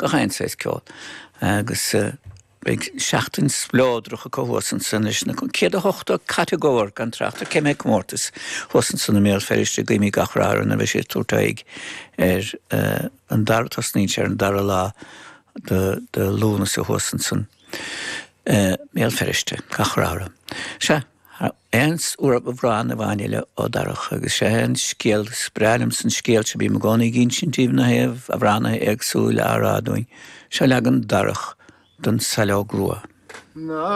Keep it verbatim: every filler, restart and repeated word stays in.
Gach aon saghas ceol. Agus uh, beidh seachtain spleodrach acu thuas ansan leis na céad a hochtó catagóir gan trácht ar cé mhéad comórtas thuas ansan i mBéal Feirste guímid gach rath orthu nuair a bheidh siad tabhairt aghaidh ar uh, an dara tosnaíonn sé ar an dara lá de, de Lúnasa thuas ansan. Uh, Béal Feirste gach rath orthu. Sea aon amhrán amháin eile ó Darach agus sé an scéal is breá liom san scéal se bí gcónaí gin sin tíh na heh amhránaithe éagsúla á rá dúinn, seo leagan Darach den Saileog Rua. Ná